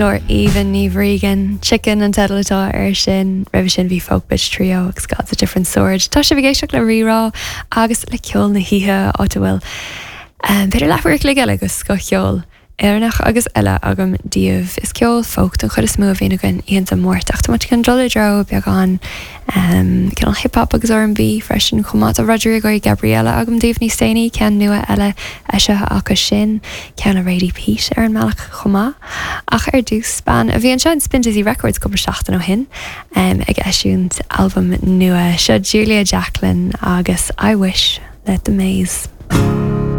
Glór aoibhinn Niamh Regan, Chicken an teideal atá air sin. Roimhe sin bhí Folk Bitch Trio agus God's a Different Sword. Tá sibh ag éisteacht le Rí-Rá agus le ceol na hoíche, áit a bhfuil b'fhéidir leathuair a chloig eile de scothcheol Éireannach agus eile agam daoibh. Is ceol folk den chuid is mó a bhíonn againn oícheanta Máirt ach tá muid chun dul i dtreo beagán cineál hip hop agus R&B freisin chomh maith. Tá Rodrigo y Gabriela agam daoibh níos déanaí, ceann nua eile eisithe acu sin, ceann le Radie Peat ar an mbealach chomh maith. Ach ar dtús, bean a bhí anseo in Spindizzy Records cúpla seachtain ó shin ag eisiúint albam nua. Seo Julia Jacklin agus I Wish le The Maze.